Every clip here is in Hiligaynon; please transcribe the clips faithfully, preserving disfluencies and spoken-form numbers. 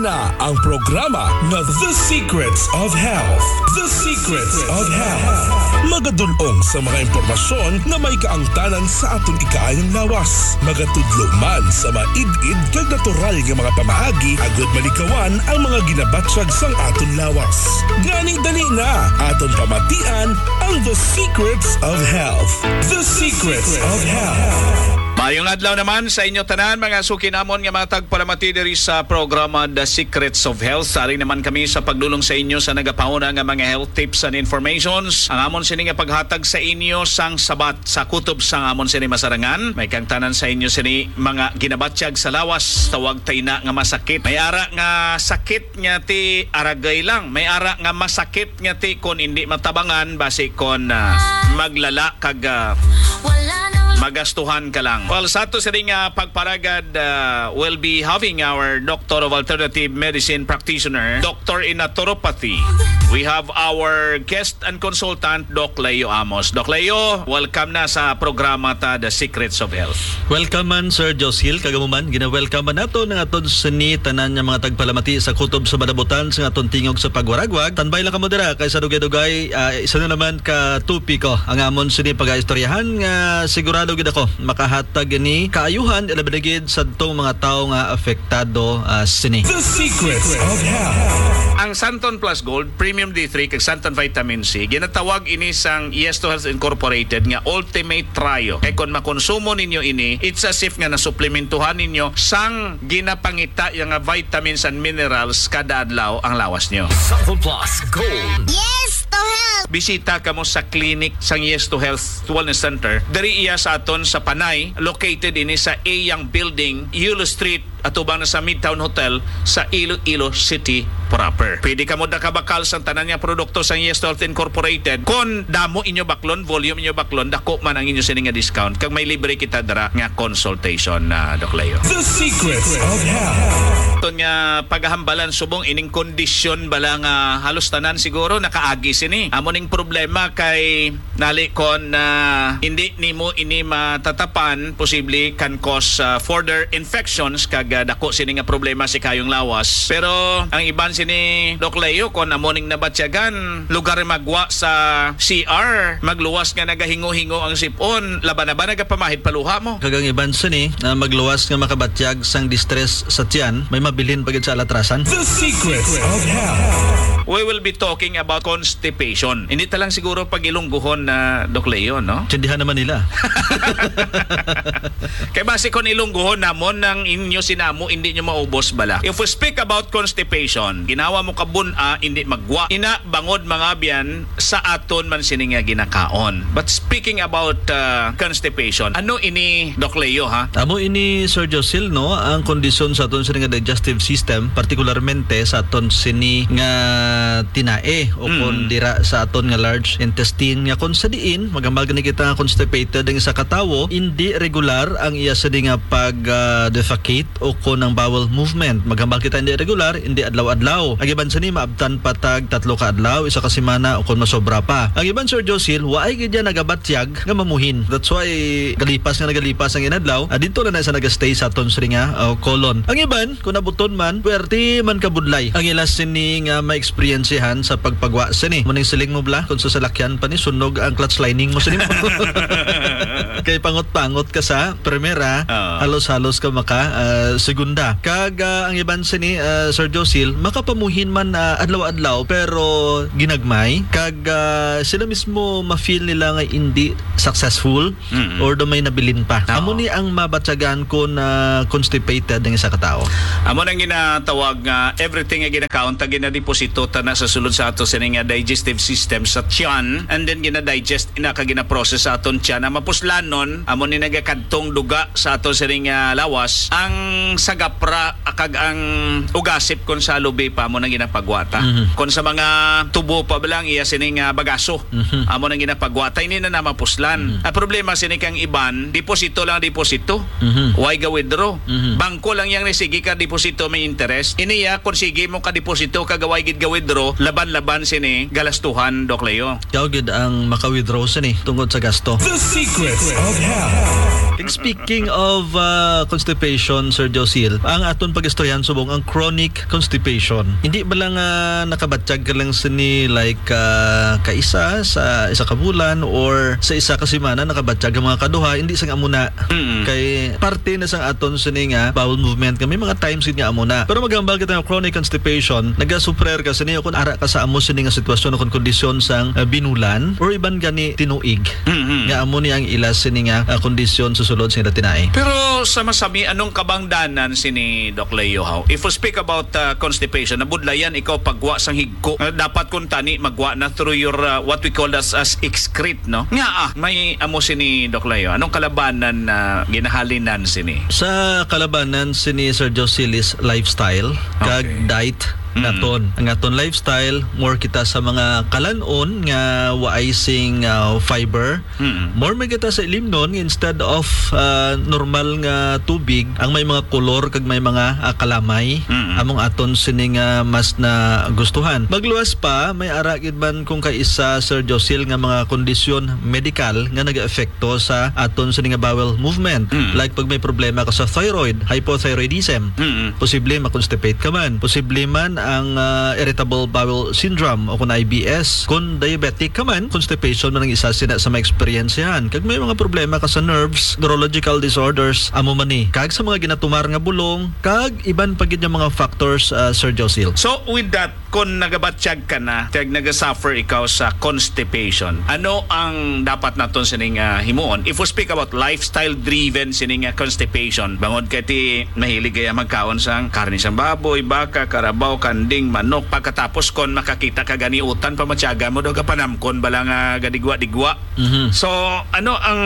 Na ang programa nga The Secrets of Health. The Secrets of Health. Magadulong sa mga impormasyon nga may kaangtanan sa aton ikaayong lawas. Magatudlo man sa maid-id kag natural nga mga pamaagi agud malikawan ang mga ginabatyag sang aton lawas. Gani dali na, aton pamatian ang The Secrets of Health. The Secrets of Health. Maayong adlaw naman sa inyo tanan, mga suki namon nga mga tagpalamati diri sa programa The Secrets of Health. Ari naman kami sa pagdulong sa inyo sa nagapauna nga mga health tips and informations. Ang amon sini nga paghatag sa inyo sang sabat sa kutob sang amon sini masarangan. May kangtanan sa inyo sini mga ginabatyag sa lawas, tawag ta ina nga masakit. May ara nga sakit nga ti aragay lang. May ara nga masakit nga ti kon indi matabangan, basi kon, ah, maglala kag, ah, magastuhan ka lang. Well, sa ato sini nga pagparagad, ah, we'll be having our Doctor of Alternative Medicine practitioner, Doctor in Naturopathy. We have our guest and consultant, Doc Leo Amos. Doc Leo, welcome na sa programa ta, The Secrets of Health. Welcome man, Sir Josil, kag amo man, gina-welcome man nato ang aton sini tanan nga mga tagpalamati sa kutob sa madabutan sa aton tingog sa pagwaragwag. Tanbay lang kamo dira, kay sa dugay-dugay, ah, isa na naman ka topiko ang amon sini pagaistoryahan nga sigurado gid ako makahatag ini kaayuhan, ilabi na gid sa tong mga tawo nga apektado, ah, sini. The Secrets of Health. Ang Santon Plus Gold, Premium D three, kag Santon Vitamin C, ginatawag ini sang Yes to Health Incorporated nga Ultimate Trio. Kay kon makonsumo ninyo ini, it's as if nga nasuplementuhan ninyo sang ginapangita ya nga vitamins and minerals kada adlaw ang lawas nyo. Santon Plus Gold. Yes to Health. Bisita kamo sa clinic sang Yes to Health Wellness Center. Diri iya sa aton sa Panay, located ini sa A Young Building, Yulo Street, atubang na sa Midtown Hotel sa Iloilo City proper. Pwede kamo dakabakal sang tanan nga produkto sang Yes to Health Incorporated. Kon damo inyo baklon, volume inyo baklon, dako man ang inyo sini nga discount. Kag may libre kita dira nga consultation, ah, Doc Leo. The Secrets of Health. Aton nga pagahambalan subong ining kondisyon bala nga halos tanan siguro nakaagi sini. Amo ning problema kay nali kon, ah, hindi nimo ini matatapan, posible can cause, ah, further infections kag, ah, dako sini nga problema sa ikaayong lawas. Pero ang iban sini, Doc Leo, kon amo ning nabatyagan, lugar magwa sa C R, magluwas nga nagahingo-hingo ang sipon, laban na ba nagapamahid pa luha mo? Kag ang iban sini, ah, magluwas nga makabatyag sang distress sa tiyan, may mabilin pa gid sa alatrasan. The Secrets of Health. We will be talking about constipation. Hindi ta lang siguro pag-Ilonggohon na, Doc Leo, no? Intindihan naman nila. Kay basi kon Ilonggohon namon ang inyo sinamo, hindi nyo maubos bala. If we speak about constipation, ginawa mo kabun-a, hindi magwa. Ina, bangod mangabyan sa aton man sini nga ginakaon. But speaking about, uh, constipation, ano ini, Doc Leo, ha? Amo ini, Sir Josil, no, ang kondisyon sa aton sini nga digestive system, partikularmente sa aton sini nga tinae o Mm. kon dira sa aton nga large intestine, nga kon sa diin maghambal gani kita nga constipated ang isa ka tawo, indi regular ang iya sini nga pag, ah, defecate o kon ang bowel movement. Maghambal kita indi regular, indi adlaw-adlaw. Ang iban sini maabtan pa tag tatlo ka adlaw, isa ka semana, o kon masobra pa. Ang iban, Sir Josil, waay gid yan nagabatyag nga mamuhin. That's why galipas nga nagalipas ang inadlaw, ah, dito na na sa nagastay sa aton sini nga, ah, colon. Ang iban, kung nabuton man, pwerte man kabudlay ang ila sini nga ma-experiencehan sa pagpagwa sini. Muning siling mo bala, kung sa salakyan pa ni, sunog ang clutch lining mo sini mo. Kay pangot-pangot ka sa primera, Oo. halos-halos ka maka, ah, segunda. Kag, ah, ang iban sini, ah, Sir Josil, makapamuhin man, ah, adlaw-adlaw, pero ginagmay. Kag, ah, sila mismo ma-feel nila nga hindi successful Mm-mm. or do may nabilin pa. Oo. Amo ni ang mabatyagan kon, ah, constipated ang isa ka tawo. Amo nang ginatawag nga everything nga ginakaon ta, ginadeposito ta na sa sulod sa ato sini nga digestive system sa tiyan, and then ginadigest na ka ginaprocess sa aton tiyan. Ang mapuslanon, amo ni nagakadtong duga sa ato sini nga lawas, ang sagapra kag ang ugasip kon sa lubi pa, amo nang ginapagwata. Mhm. Kon sa mga tubo pa ba lang iya sini nga bagaso, Mhm. amo nang ginapagwata, hindi na na mapuslan. Mhm. Ang problema sini kang iban, deposito lang deposito. Mhm. Why ga withdraw? Mhm. Bangko lang yang ni sige ka deposito may interest. Ini ya, kung sige mo ka deposito kag why gid ga withdraw, laban-laban sini galastuhan, Doc Leo. Ikaw gid ang maka-withdraw sini tungod sa gasto. The Secrets of Health. Kag speaking of, ah, constipation, Sir Josil, ang aton pag-istoryahan subong ang chronic constipation. Hindi ba lang, ah, nakabatyag ka lang sini, like, ah, kaisa sa isa ka bulan or sa isa ka semana nakabatyag ang mga kaduha, hindi sang amo na. Mm-mm. Kay parte na sang aton sini nga bowel movement nga may mga times gid nga amo na. Pero maghambal kita nga chronic constipation, nagasuffer ka sini o kung ara ka sa amo sini nga sitwasyon o kung kondisyon sang, ah, binulan or iban gani tinuig. Mm-hmm. Nga amo ni ang ila sini nga, ah, kondisyon sa sulod sa ila tinai. Pero sa masami, anong kabangdanan sini, Doc Leo, haw? If we speak about, ah, constipation, nabudlayan ikaw pagwa sang higko. Ah, dapat kung tani magwa na through your, ah, what we call as, as excrete, no? Nga, ah, may amo sini, Doc Leo. Anong kalabanan na ginahalinan sini? Sa kalabanan sini, Sir Josilis, lifestyle kag Okay. diet Mm. naton. Ang aton lifestyle, more kita sa mga kalan-on nga waay sing, ah, fiber. Mm. More man kita sa ilimnon nga instead of, ah, normal nga tubig, ang may mga kolor kag may mga, ah, kalamay, Mm. among aton sini nga mas na gustuhan. Magluwas pa, may ara gid man kung kaisa, Sir Josil, nga mga kondisyon medikal nga nag-epekto sa aton sini nga bowel movement. Mm. Like pag may problema ka sa thyroid, hypothyroidism, Mm. posible ma-constipate ka man. Posible man ang, ah, irritable bowel syndrome o kung I B S. Kung diabetic ka man, constipation man ang isa sina sa maeksperiensyahan. Kag may mga problema ka sa nerves, neurological disorders, amo man ni. Kag sa mga ginatumar nga bulong, kag iban pa gid nga mga factors, ah, Sir Josil. So, with that, kung nagabatyag ka na, kag nagasuffer ikaw sa constipation, ano ang dapat naton sining, ah, himuon? If we speak about lifestyle-driven sining, ah, constipation, bangod kay ti mahilig kaya magkaon sang karne sang baboy, baka, karabaw, kanding, manok, pagkatapos kon makakita ka gani utan, pamatyagan mo daw ka panamkon bala nga gadigwa-digwa. Mhm. So, ano ang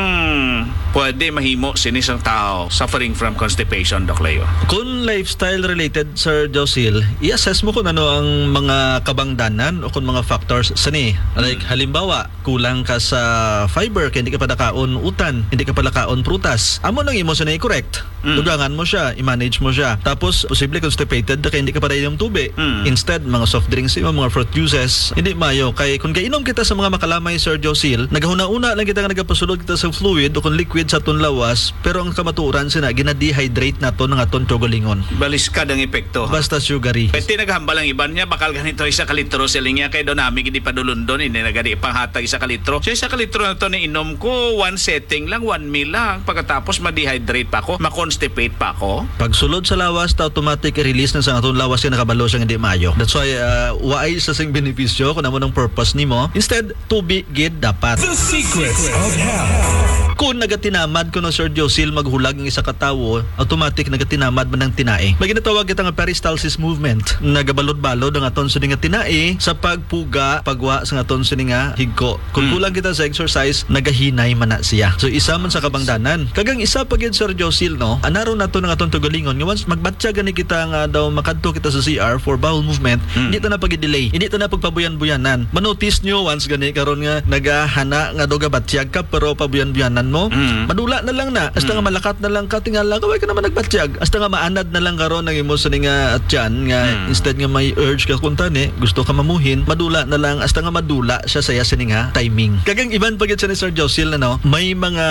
pwede mahimo sini sang tao suffering from constipation, Doc Leo? Kung lifestyle related, Sir Josil, i-assess mo kung ano ang mga kabangdanan o kung mga factors sini. Like, Mm. halimbawa, kulang ka sa fiber, kay hindi ka pala kaon utan, hindi ka pala kaon prutas. Amo nang imo sini i-correct. Mm. Dugangan mo siya, i-manage mo siya. Tapos, posible constipated na kay hindi ka pala inom tubi. Mm. Instead, mga soft drinks, mga fruit juices, hindi maayo. Kay kung gainom kita sa mga makalamay, Sir Josil, nagahuna-una lang kita nga nagapasulod kita sa fluid o kung liquid sa aton lawas, pero ang kamatuoran sina, gina-dehydrate nato ng aton kaugalingon. Baliskad ang epekto, ha? Basta sugary. Pwede naghambal ang iban niya, bakal ganito isa ka litro, siling niya, kay daw nami gid padulundon, hindi na gani panghatag isa ka litro. So, isa ka litro na to na inom ko, one setting lang, one meal lang. Pagkatapos, ma-dehydrate pa ako, ma-constipate pa ako. Pagsulod sa lawas, ta automatic i-release na sa atong lawas kay nakabalo siya nga hindi maayo. That's why, uh, waay sa sing benepisyo kung amo nang purpose nimo. Instead, tubi gid dapat. The Secrets of Health. Kung nagatinamad ko no, Sir Josil, maghulag ang isa ka tawo, automatic nagatinamad man ang tinai. May ginatawag kita nga peristalsis movement. Nagabalod-balod ang aton sini nga tinai sa pagpuga, pagwa sa aton sini nga higko. Kung Mm. kulang kita sa exercise, nagahinay man na siya. So, isa man sa kabangdanan. Kag ang isa pa gid, Sir Josil, no? Anaron nato ng aton tugalingon nga once magbatya gani kita nga daw makadto kita sa C R for bowel movement, Mm. hindi ta na pag-delay. Hindi ta na pagpabuyan-buyanan. Manotice nyo once gani karon nga nagahana nga daw gabatyag ka pero pabuyan-buyanan mo. Mm. Madula na lang na. Hasta Mm. nga malakat na lang ka, tingala ka, way ka naman nagbatyag. Hasta nga maanad na lang karon ang imo sa nga tiyan nga Mm. instead nga may urge ka kung tani, gusto ka mamuhin, madula na lang, hasta nga madula siya sa iya sini nga timing. Kag ang iban pa gid sa ni Sir Josil, ano, may mga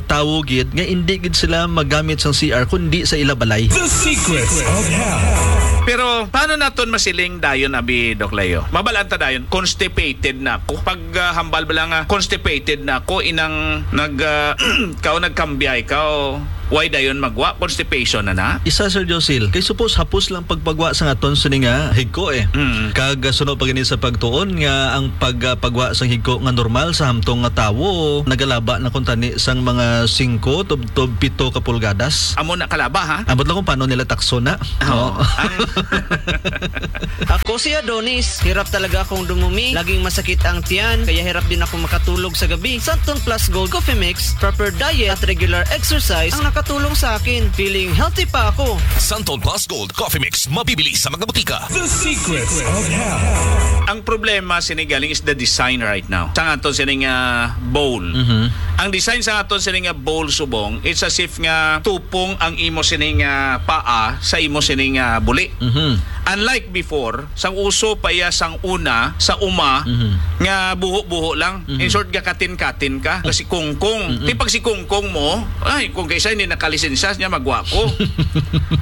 tawo gid nga hindi gid sila magamit sang C R kundi sa ila balay. The Secrets of Health. Pero paano naton masiling dayon, abi, Doc Leo? Mabalaan ta dayon, constipated na ako. Pag, ah, hambal ba lang, ah, constipated na ako, inang nag, ah, kao nagkambya ikaw, why dayon magwa? Constipation na na? Isa, Sir Josil, kay suppose hapos lang pagpagwa sa aton sini nga higko, eh. Mm. Kag, ah, suno pa gani sa pagtuon nga ang pag, ah, pagwa sa higko nga normal sa hamtong nga tawo, nagalaba na kung tani sang mga singko tubtob pito ka pulgadas. Amo na kalaba, ha? Ambot lang kung paano nila takso na. Oo. No? Ang Ako si Adonis. Hirap talaga akong dumumi. Laging masakit ang tiyan, kaya hirap din ako makatulog sa gabi. Santon Plus Gold Coffee Mix, proper diet at regular exercise ang nakatulong sa akin. Feeling healthy pa ako. Santon Plus Gold Coffee Mix, mabibili sa mga butika. The Secrets of Health. Ang problema sini galing is the design right now. Sa aton sini nga bowl. Mhm. Ang design sa aton sini nga bowl subong, it's as if nga tupong ang imo sini nga paa sa imo sini nga buli. Mhm. Unlike before, sang uso pa iya sang una, sa uma, Mhm. nga buho-buho lang. Mhm. In short, gakatin-katin ka. Oh. Kasi kungkong. Mm-mm. Ti pag si kungkong mo, ay, kung kaisa hindi nakalisensya niya, magwa ko.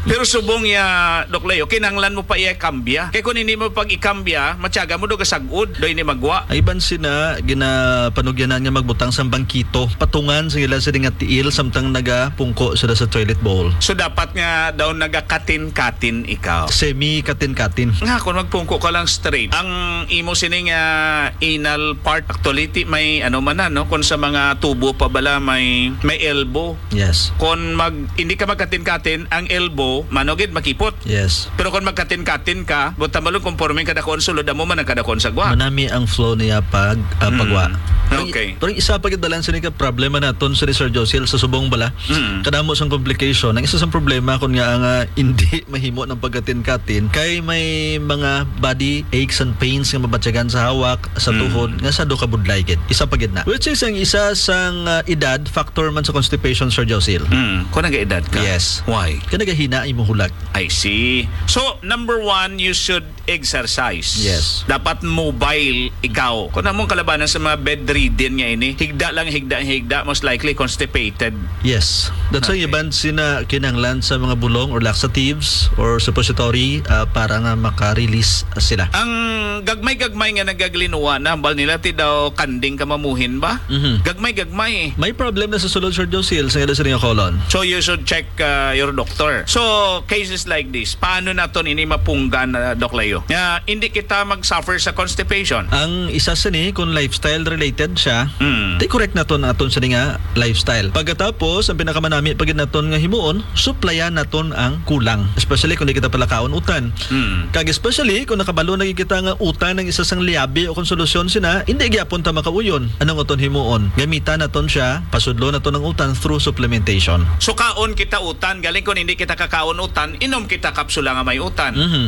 Pero subong ya, Doc Leo, kinahanglan mo pa iya kambya. Kay kung hindi mo pag ikambya, matyaga mo do kasagod, do hindi magwa. Ay, ban sina, ginapanugyanan nga magbutang sang bangkito. Patungan sa ila sila nga tiil, samtang nagapungko sila sa toilet bowl. So, dapat nga daw nagakatin-katin ikaw. Semi katin-katin. Nga, kung magpungko ka lang straight, ang imo sini nga anal part, actually, ti may ano man na, no? Kung sa mga tubo pa bala, may, may elbow. Yes. Kung mag, hindi ka magkatin-katin, ang elbow, manugid, makipot. Yes. Pero kung magkatin-katin ka, buta malong conforme ang kadakuan sulod, amo man ang kadakuan sa gwa. Manami ang flow niya pag, ah, Mm. pagwa. Pero, Okay. pero isa pa gid dalan sini ka problema naton, sini Sir Josiel, sa subong bala. Mm. Kadamo sang complication. Ang isa sang problema, kun nga nga hindi mahimo ng pagkatin-katin, kay may mga body aches and pains nga mabatyagan sa hawak, sa Mm. tuhod, nga sa do ka budlay gid. Isa pa gid na. Which is ang isa sang, ah, edad, factor man sa constipation, Sir Josiel. Mm. Kung nag-edad ka? Yes. Why? Kay nagahina ang imong hulag. I see. So, number one, you should exercise. Yes. Dapat mobile ikaw. Kung among kalabanan sa mga bedridden nga ini, higda lang, higda, higda, most likely constipated. Yes. That's why Okay. iban sina kinahanglan sa mga bulong or laxatives or suppository, ah, para nga maka-release sila. Ang gagmay-gagmay nga nagaglinuwa na, hambal nila ti daw kanding ka mamuhin ba? Mhm. Gagmay-gagmay. May problem na sa sulod, Sir Josil, sa ila sa inyong colon. So you should check, uh, your doctor. So cases like this, paano naton ini mapunggan, uh, Doc Leo? Nga hindi kita mag-suffer sa constipation. Ang isa sini, kung lifestyle related siya, Mm. di correct naton aton sini nga lifestyle. Pagkatapos, ang pinakamanami pa gid naton nga himuon, suplayan naton ang kulang. Especially kung di kita palakaon utan. Mm. Kag especially kung nakabalo na gid kita nga utan ang isa sang liabi o kung solusyon sina, hindi gyapon ta makauyon. Anong aton himuon? Gamitan naton siya, pasudlo naton ang utan through supplementation. So kaon kita utan, galing kung hindi kita kakaon utan, inom kita kapsula nga may utan. Mhm.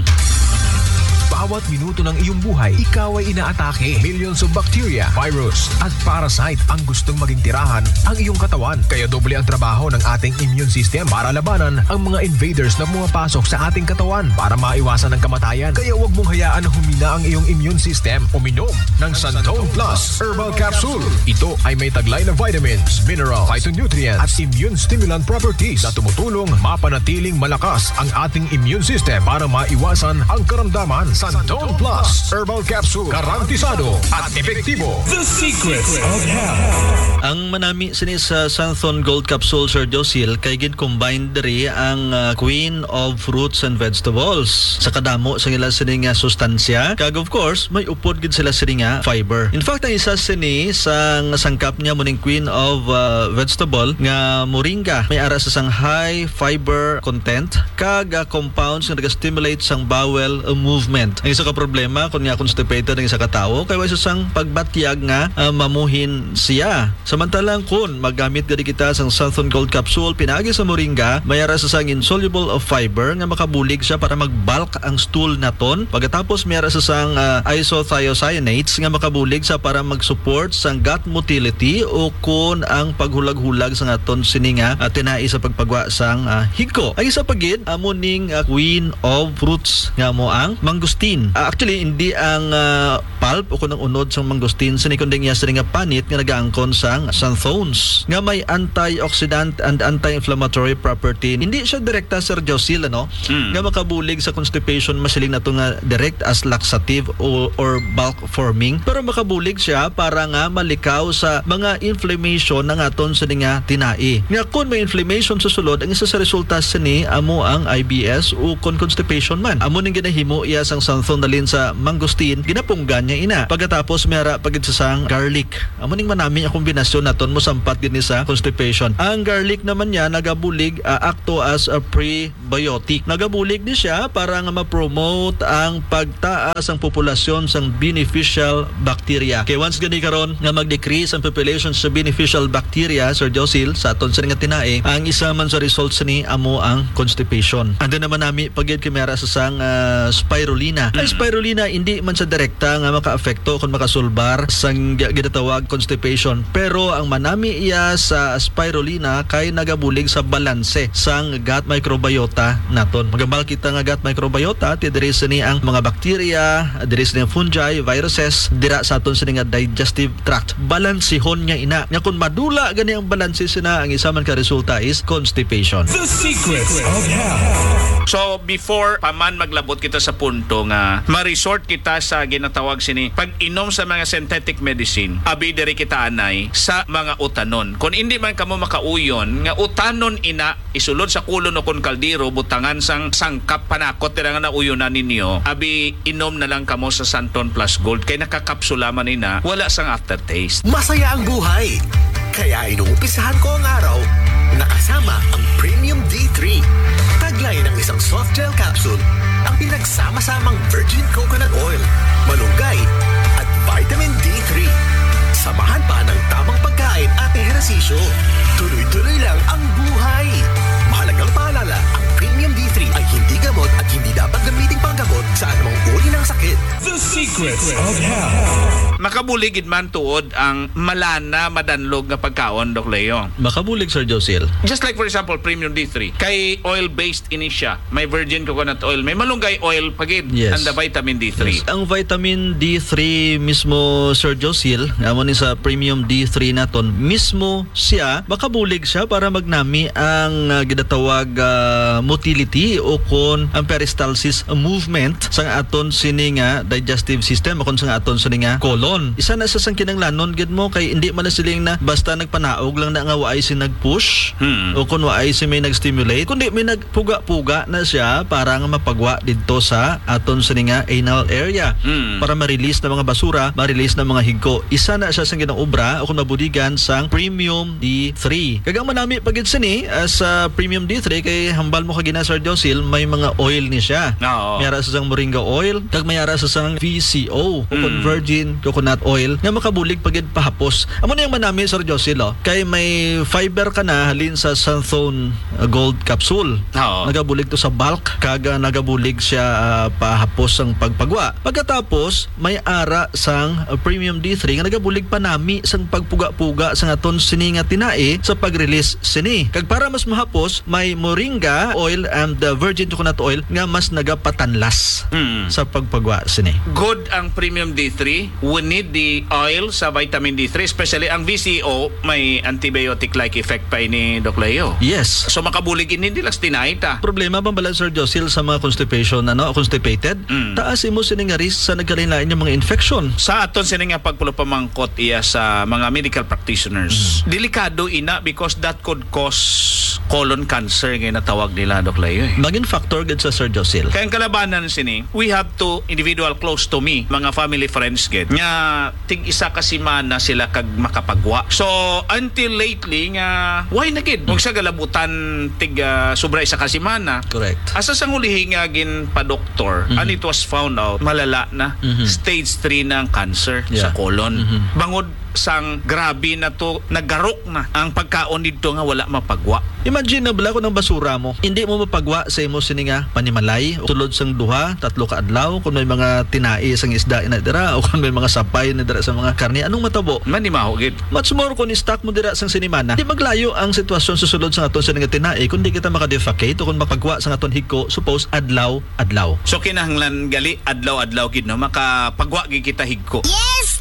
Bawat minuto ng iyong buhay, ikaw ay inaatake. Millions of bacteria, virus, at parasite ang gustong maging tirahan ang iyong katawan. Kaya doble ang trabaho ng ating immune system para labanan ang mga invaders na pumapasok sa ating katawan. Para maiwasan ang kamatayan, kaya huwag mong hayaan na humina ang iyong immune system. Uminom ng Santon Plus Herbal Capsule. Ito ay may taglay na vitamins, mineral, phytonutrients, at immune stimulant properties na tumutulong mapanatiling malakas ang ating immune system para maiwasan ang karamdaman. Santon Plus Herbal Capsule, garantisado at epektibo. The Secrets of Health. Ang manami sini sa Santhon Gold Capsule, Sir Josil, kay gin-combine diri ang, ah, Queen of Fruits and Vegetables sa kadamo sa ila sini nga sustansya. Kag of course, may upod gid sila sini nga fiber. In fact, ang isa sini sang sangkap niya mo ning Queen of, ah, Vegetable nga moringa. May ara sa sang high fiber content kag, ah, compounds nga naga-stimulate sang bowel, ah, movement. Ang isa ka problema kung nga constipated ang isa ka tawo kay way sa sang pagbatyag nga, ah, mamuhin siya. Samantalang kun maggamit gani kita sang Santhon Gold Capsule pinaagi sa moringa, may ara sa sang insoluble of fiber nga makabulig siya para mag-bulk ang stool naton. Pagkatapos may ara sa sang, ah, isothiocyanates nga makabulig sa para mag-support sang gut motility o kun ang paghulag-hulag sa aton sini nga, ah, tinai sa pagpagwa sang, ah, higko. Ang isa pa gid amo ning, ah, queen of fruits nga amo ang mangosteen. Ah, actually, hindi ang, ah, pulp o kun ang unod sang mangosteen sini, kundi iya sini nga panit nga nagaangkon sang xanthones nga may antioxidant and anti-inflammatory property. Hindi siya direkta, Sir Josil, ano, Mm. nga makabulig sa constipation, masiling nato nga direct as laxative o, or bulk forming, pero makabulig siya para nga malikaw sa mga inflammation nga aton sini nga tinai. Nga kun may inflammation sa sulod, ang isa sa resulta sini amo ang I B S o kon constipation man. Amo ning ginahimo iya sang xanthone nalin sa mangosteen, ginapunggan niya ina. Pagkatapos may ara pa gid sa sang garlic. Amo ning manami nga kombinasyon naton mosampat gid ni sa constipation. Ang garlic naman niya nagabulig, ah, akto as a pre- biotic. Nagabulig ni siya para nga ma-promote ang pagtaas ang populasyon sang beneficial bacteria. Kay once gani karon nga mag-decrease ang population sa beneficial bacteria, Sir Josil, sa aton sini nga tinai, ang isa man sa results ni amo ang constipation. And then naman nami pagid kay may ara sa sang, ah, spirulina. Ang spirulina, hindi man sa direkta nga makaapekto kung makasulbar sang gi-, ginatawag constipation, pero ang manami iya sa spirulina kay nagabulig sa balanse sang gut microbiota naton. Magambal kita nga gut microbiota, ti diri sini ang mga bakterya, diri sini ang fungi, viruses, dira sa aton sini nga digestive tract. Balansihon niya ina. Nga kung madula gani ang balanse sina, ang isa man ka resulta is constipation. The Secrets of Health. So, before pa man maglabot kita sa punto nga ma-resort kita sa ginatawag sini pag-inom sa mga synthetic medicine, abi diri kita anay sa mga utanon. Kung hindi man kamo makauyon nga utanon ina, isulod sa kulon o kon kaldero, butangan sang sangkap panakot dira nga nauyonan ninyo, abi inom na lang kamo sa Santon Plus Gold kay nakakapsula man ina, wala sang aftertaste. Masaya ang buhay. Kaya inuumpisahan ko ang araw nakasama ang Premium D three. Taglay ng isang soft gel capsule, ang pinagsama-samang virgin coconut oil, malunggay, at vitamin D three. Samahan pa ng tamang pagkain at ehersisyo. Tuloy-tuloy lang ang buhay. Mahalagang paalala, ang Premium D three ay hindi gamot at hindi dapat gamiting panggamot sa anumang uri ng sakit. The Secrets of Health. Makabulig gid man tuod ang malana, madanlog nga pagkaon, Doc Leo. Makabulig, Sir Josil. Just like, for example, Premium D three. Kay oil-based ini siya. May virgin coconut oil, may malunggay oil pa gid, Yes. and the vitamin D three. Yes. Ang vitamin D three mismo, Sir Josil, nga amo ni sa Premium D three naton, mismo siya, makabulig siya para magnami ang, ah, ginatawag, ah, motility o kon ang peristalsis movement sang aton sini nga digestive system o kon sang aton sini nga colon. Isa na sa sang kinahanglanon gid mo kay hindi man na siling na basta nagpanaog lang na nga waay si nag-push Hmm. o kon waay si may nag-stimulate, kundi may nagpuga-puga na siya para nga mapagwa didto sa aton sini nga anal area Hmm. para ma-release na mga basura, ma-release na mga higko. Isa na siya sang ginaobra o kon mabuligan sang Premium D three. Kag ang manami pa gid sini, ah, sa Premium D three kay hambal mo kagina, Sir Josil, may mga oil ni siya. Oo. May ara sa sang moringa oil, kag may ara sa sang V C O o kon Mm. virgin coconut oil nga makabulig pa gid pahapos. Amo na yung manami, Sir Josil, oh. Kay may fiber ka na halin sa Santhone, ah, Gold Capsule. Oo. Nagabulig to sa bulk, kag, ah, nagabulig siya, ah, pahapos sang pagpagwa. Pagkatapos, may ara sang, uh, Premium D three nga nagabulig panami sang pagpuga-puga sang aton sini nga tinai sa pag-release sini. Kag para mas mahapos, may moringa oil and, uh, virgin coconut oil nga mas nagapatanlas Mm. sa pagpagwa sini. Good ang Premium D three. We need the oil sa vitamin D three, especially ang V C O, may antibiotic-like effect pa ini, Doc Leo. Yes. So, makabulig ini nila sa tinai ta. Problema bang bala, Sir Josil, sa mga constipation, ano, constipated? Mm. Taas imo sini nga risk sa nagkalain-lain nga mga infection. Sa aton sini nga pagpulupamangkot iya sa mga medical practitioners, Mm. delikado ina because that could cause colon cancer nga natawag nila, Doc Leo, eh. Magin factor gid sa, Sir Josil. Kaya ang kalabanan sini, we have to individual close to me, mga family friends gid, nga tig isa ka semana sila kag makapagwa. So, until lately nga, why na gid? Kung sa galabutan, tig, ah, sobra isa ka semana. Correct. Asa sang ulihi nga ginpa-doktor, Mhm. and it was found out, malala na, Mhm. stage three na ang cancer sa Yeah. colon. Mhm. Bangod sang grabe na to, nagarok na ang pagkaon didto nga wala mapagwa. Imagine na bala kung ang basura mo, hindi mo mapagwa sa imo sini nga panimalay, tulod sang duha, tatlo ka adlaw, kung may mga tinai sang isda na dira, o kung may mga sapay na dira sa mga karne, anong matabo? Manimaho gid. Much more kung i-stock mo dira sang sinimana. Di maglayo ang sitwasyon sa sulod sa aton sini nga tinai kung di kita makadefecate o kung mapagwa sa aton higko, suppose, adlaw-adlaw. So, kinahanglan gali adlaw-adlaw gid, no? Makapagwa gid kita higko. Yes,